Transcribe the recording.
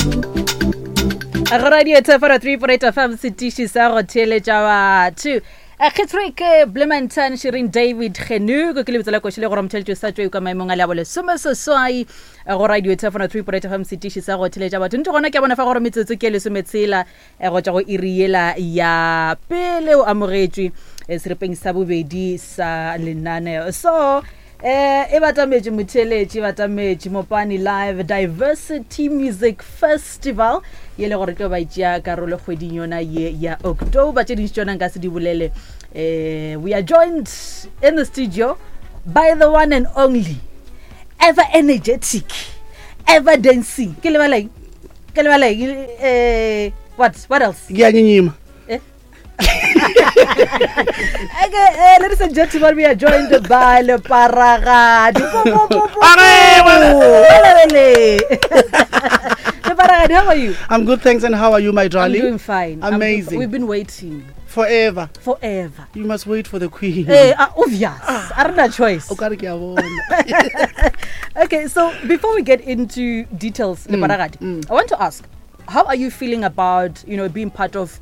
Go radio 3.8 FM setiši sa go theeletša batho. Kgetsrick Blemantan Shirin David Genuko ke lebitso la koši le gore motheletšo sa tšwe ka maemong a le a bolesomeseswai go radio 3.8 FM setiši sa go theeletša batho. Ntho gona ke a bona fa gore metsotso ke lesometshela go tšwa go iri yela ya pele o amogetšwe seripeng sa bobedi sa lenaneo. So eh e batametše motheeletši e batametše Mopani Live Diversity Music Festival ye le gore tlo ba itšea karolo kgweding yona ye ya October. Tše dintši tšona nka se di bolele. Eh we are joined in the studio by the one and only ever energetic ever dancing ke lebala eng ke lebala eng eh what else ke a nyenyema eh? Okay, ladies and gentlemen, we are joined by Leparagadi. Leparagadi, how are you? I'm good, thanks. And how are you, my darling? I'm doing fine. Amazing. We've been waiting. Forever. Forever. You must wait for the queen. Hey, obvious. I don't have choice. O ka re ke a bona. Okay, so before we get into details, Leparagadi, I want to ask, how are you feeling about being part of